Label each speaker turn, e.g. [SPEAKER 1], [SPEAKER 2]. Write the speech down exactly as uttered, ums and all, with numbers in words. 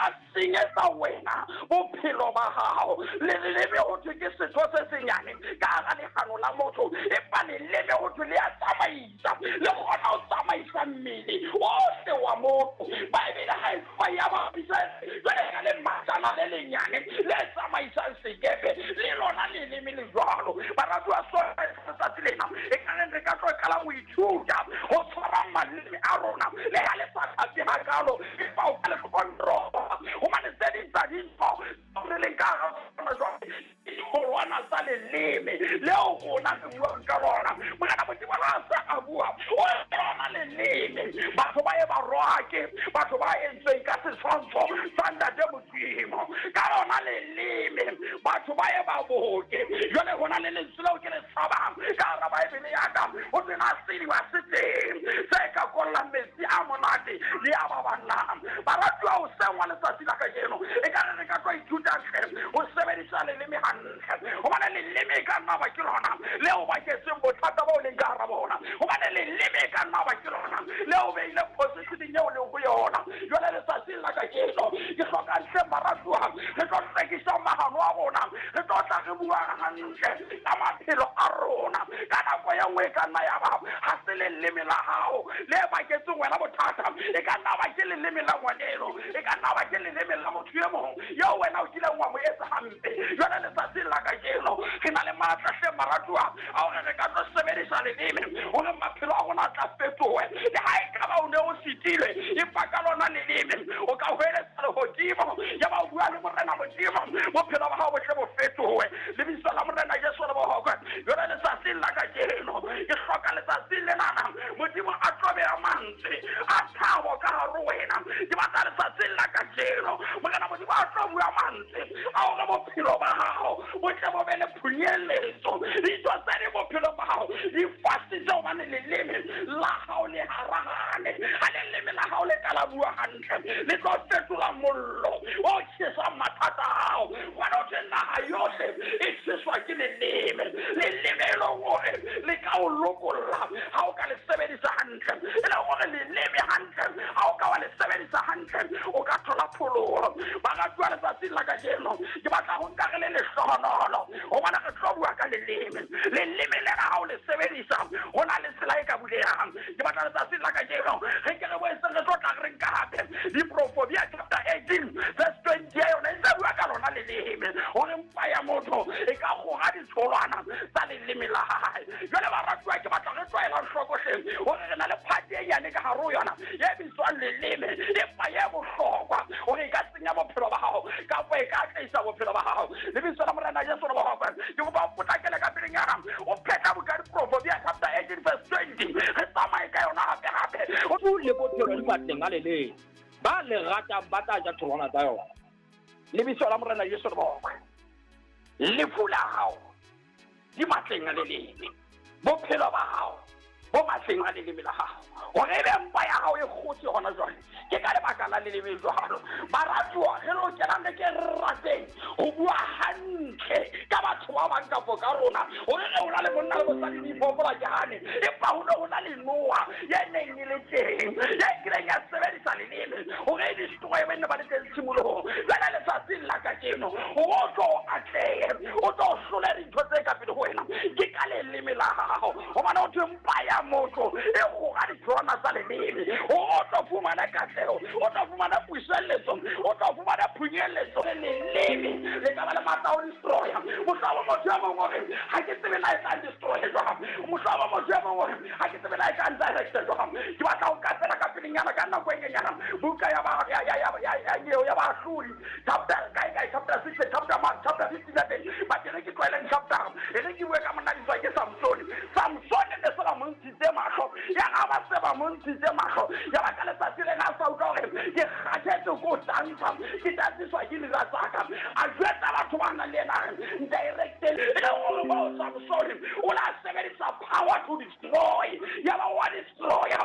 [SPEAKER 1] ka senyetsa wena bophelo ba hao. Leleme ho thwe ke setho se senyane ka hara lehano la motho, empa leleme ho thwe le a tsamaisa, le kgona ho tsamaisa mmele ohle wa motho. Baebele ha e fa ya bapisa jwale ka lematjana le lenyane le tsamaisang sekepe, le lona leleme le jwalo. Baratuwa, sona letsatsi lena e ka reng re ka tlo qala ho ithuta ho tshwara maleme a rona, le ha le sa tlhape hakalo, empa o ka le control-a. Hobane tse ding tsa dintho re leng ka hara tsona jwale ke ditholwana tsa leleme leo rona re buang ka lona. Morena Modimo ha a sa a bua, o lona leleme. Batho ba ye ba rohake batho ba entsweng ka setshwantsho sa Ntate Modimo ka lona leleme, batho ba ye ba boke. Jwale hona le lentswe leo ke le tshabang ka hara Baebele ya ka, ho sena sediba se teng se ka kollang metsi a monate le a baballang. Baratuwa, hoseng wa letsatsi la kajeno e ka re re ka tlo ithuta hle ho sebedisa leleme hantle, hobane leleme e ka nna ba ke lona leo baketseng bothata bo leng ka hara bona, hobane leleme e ka nna ba ke lona leo beileng positioneng eo leng ho yona. Jwale letsatsing la kajeno ke hloka hle baratuwa, re tlo hlwekisa mahano a rona, re tlo tla re bua hantle ka maphelo a rona. Ka nako e nngwe e ka nna ya ba ha se leleme la hao le baketseng wena bothata, e ka nna ba ke leleme la ngwaneno, e ka nna ba ke leleme la motho e mong eo wena o kileng wa mo etsa hampe. Jwale letsatsing la kajeno re na le matla hle baratuwa a hore re ka tlo sebedisa leleme hore maphelo a rona a tla fetohe. Le ha e ka ba o ne o sitilwe, empa ka lona leleme o ka hweletsa lehodimo, ya ba o bua le Morena Modimo, bophelo ba hao bo tle bo fetohe. Lebitso la Morena Jesu le bohokwe. Jwale letsatsing la kajeno ke hloka letsatsing lenana Modimo a tlo beha mantswe a thabo ka hare ho wena. Ke batla letsatsing la kajeno Morena Modimo a tlo bua mantswe a hore bophelo ba hao bo tle bo be le phunyeletso. Dintho tse ding bophelong ba hao di fasitse hobane leleme la hao le harahane. Ha leleme la hao le ka la bua hantle, le tlo fetola mollo o tjhesang mathata a hao. Hobane ho thwe naha yohle e tjheswa ke leleme. Leleme e leng hore le ka o lokolla ha o ka le sebedisa hantle, e leng hore leleme hantle ha o ka wa le sebedisa hantle o ka thola pholoho. Baratuwa, letsatsing la kajeno ke batla ho nka re le lehlohonolo hobane re tlo bua ka leleme. Leleme lena ha o le sebedisa ho na le tsela e ka bulehang. Ke batla letsatsing la kajeno re ke re boetse re tlo tla re nka hape Diproverbia chapter eighteen verse twenty ya yona e ntse bua ka lona leleme, hore mpa ya motho e ka kgora ditholwana tsa leleme la hae. Jwale baratuwa, ke batla re tlwaela hloko hle hore re na le phate e nyane ka hare ho yona e bitswang leleme, empa e bohlokwa hore e ka senya bophelo ba hao kapa e ka atlehisa bophelo ba hao. Lebitso la Morena Jesu le bohokwe. Ke kopa o potlakele ka pelenyana o phetla buka Diproverbia chapter eighteen verse twenty, re tsamaye ka yona hape hape.
[SPEAKER 2] Lefu le bophelo di matleng a leleme, ba le ratang ba tla ja tholwana tsa yona.
[SPEAKER 1] Lebitso la Morena Jesu le bohokwe. Lefu la hao di matleng a leleme, bophelo ba hao bo matleng a leleme la hao. Hore ebe mpa ya hao e kgotse hona jwale ke ka lebaka la leleme jwalo. Baratuwa, re lokelang re ke re rateng ho bua hantle ka batho ba bang kapo ka rona. Hore re ho na le monna le mosadi diphoofolo ke hane, empa ho ne ho na le noha ye neng e le teng ye kileng ya sebedisa leleme hore e destroye ba nne ba le teng tshimolohong. Jwale letsatsing la kajeno hore o tlo atlehe, o tlo hlole dintho tse ka pele ho wena ke ka leleme la hao. Hobane ho thwe mpa ya motho e kgora ditholwana tsa leleme, hore o tlo fumana katleho, o tlo fumana puseletso, o tlo fumana phunyeletso. Leleme le ka ba le matla a ho destroya. Mohlomong motho e mong o re ha ke tsebe na e tla destroy jwang, mohlomong motho e mong o re ha ke tsebe na e tla ndirect jwang. Ke batla ho ka fela ka pelenyana ka nako e nyenyana buka ya ba ya ya ya ya ya ya Baahlodi chapter kae kae chapter six chapter chapter fifteen ya teng, but e re ke tlwaeleng chapter e re ke bue ka monna bitswa ke Samsone. Samsone ne se ba mo ntshitse mahlo, ya ga ba se ba mo ntshitse mahlo, ya ba ka letsatsi lena a sa utlwa hore ke kgathetse ko tantsha, ke tantsiswa ke dira tsa ka. A jwetsa batho ba nang le yena directly e le hore moo Samsone o la sebedisa power to destroy, ya ba wa destroya.